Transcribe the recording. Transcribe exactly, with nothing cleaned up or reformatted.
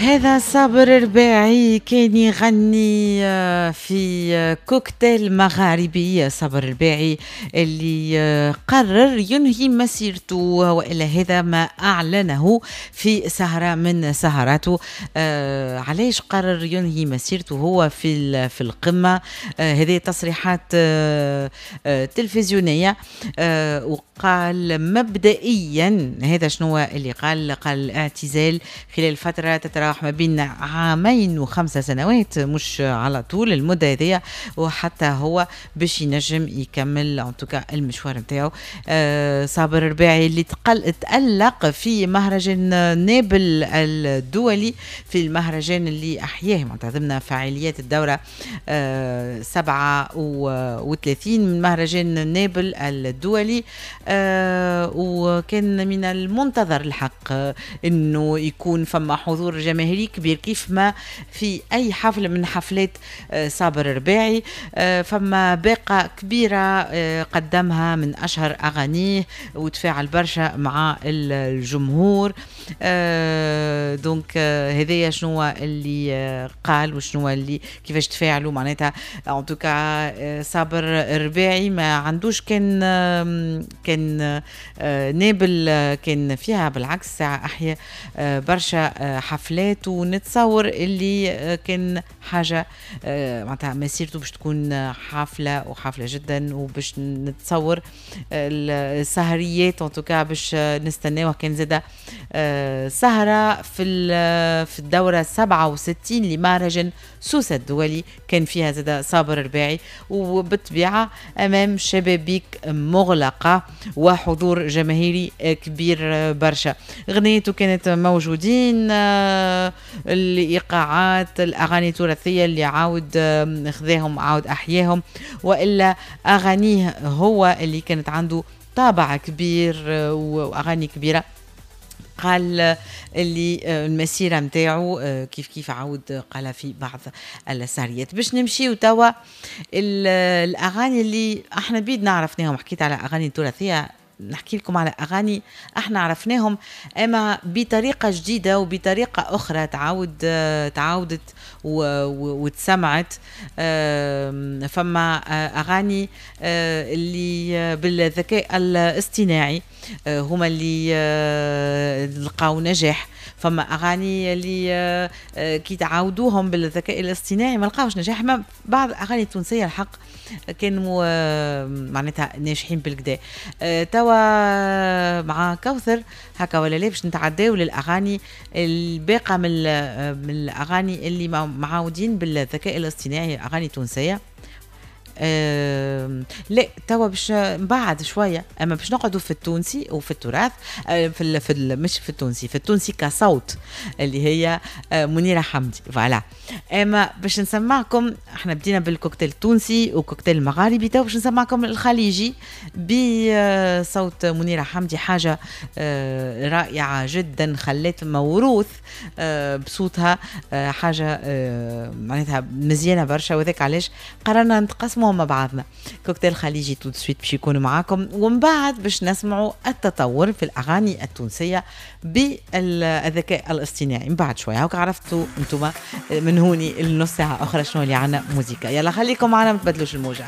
هذا صابر الرباعي كان يغني آه، في آه، كوكتيل مغاربي. صابر الرباعي اللي آه، قرر ينهي مسيرته، والا هذا ما اعلنه في سهره من سهراته. علاش قرر ينهي مسيرته هو في في القمه؟ هذه تصريحات تلفزيونيه، وقال مبدئيا هذا شنو اللي قال؟ قال اعتزال خلال فترة تتراوح ما بين عامين وخمسة سنوات، مش على طول المدة هذيا، وحتى هو باش ينجم يكمل en tout cas المشوار نتاعو. آه صابر الرباعي اللي تقل تألق في مهرجان نابل الدولي، في المهرجان اللي أحياه معناتها ضمن فعاليات الدورة آه سبعة وثلاثين من مهرجان نابل الدولي، آه وكان من المنتظر الحق انه يكون فما حضور جماهيري كبير كيف ما في اي حفل من حفلات آه، صابر الرباعي. آه، فما باقة كبيرة آه، قدمها من اشهر اغانيه وتفاعل برشا مع الجمهور. donc هذايا شنو اللي قال وشنو اللي كيفاش تفاعلوا معناتها. en tout cas صابر الرباعي ما عندوش كان كان نابل كان فيها، بالعكس ساعة أحيا برشا حفلات، ونتصور اللي كان حاجة معناتها مسيرته باش تكون حافلة وحافلة جدا، وباش نتصور السهريات en tout cas باش نستناوه. كان زادة سهرة في في الدورة سبعة وستين لمهرجان سوسة الدولي كان فيها زادة صابر الرباعي، وبالطبيعة أمام شبابيك مغلقة وحضور جماهيري كبير برشا. غنيته كانت موجودين، آه، الايقاعات، الاغاني التراثية اللي عاود خذاهم، عاود احياهم، والا اغانيه هو اللي كانت عنده طابع كبير آه، واغاني كبيره. قال اللي آه، المسيرة نتاعو آه، كيف كيف عاود قالها في بعض السهريات. باش نمشيو توا الاغاني اللي احنا بيدنا عرفناهم. حكيت على اغاني تراثيه، نحكي لكم على اغاني احنا عرفناهم اما بطريقة جديدة وبطريقة اخرى تعاود تعاودت وتسمعت. فما اغاني آه، اللي بالذكاء الاصطناعي آه، هما اللي آه، لقاو نجاح، فما اغاني اللي كي تعاودوهم بالذكاء الاصطناعي ما لقاوش نجاح. ما بعض الاغاني التونسية الحق كانوا معناتها ناجحين بالقدا. توا مع كوثر هكا ولا لا؟ باش نتعداو للاغاني الباقه من من الاغاني اللي معاودين بالذكاء الاصطناعي، اغاني تونسيه. آه لا، توا باش بعد شويه، اما باش نقعدوا في التونسي وفي التراث، آه في ال في ال مش في التونسي، في التونسي كصوت اللي هي آه منيرة حمدي، voilà. اما باش نسمعكم، احنا بدينا بالكوكتيل التونسي وكوكتيل المغاربي، توا باش نسمعكم الخليجي بصوت منيرة حمدي، حاجة آه رائعة جدا، خلت موروث آه بصوتها، آه حاجة آه معناتها مزيانه برشا، وذاك علاش قررنا نتقاسموا مع بعضنا. كوكتيل خليجي tout de suite باش يكونوا معاكم، ومن بعد باش نسمعوا التطور في الاغاني التونسية بالذكاء الاصطناعي من بعد شويه. هاك عرفتوا انتم من هوني النص ساعة اخرى شنو اللي عنا موزيكا. يلا خليكم معنا، ما تبدلوش الموجه.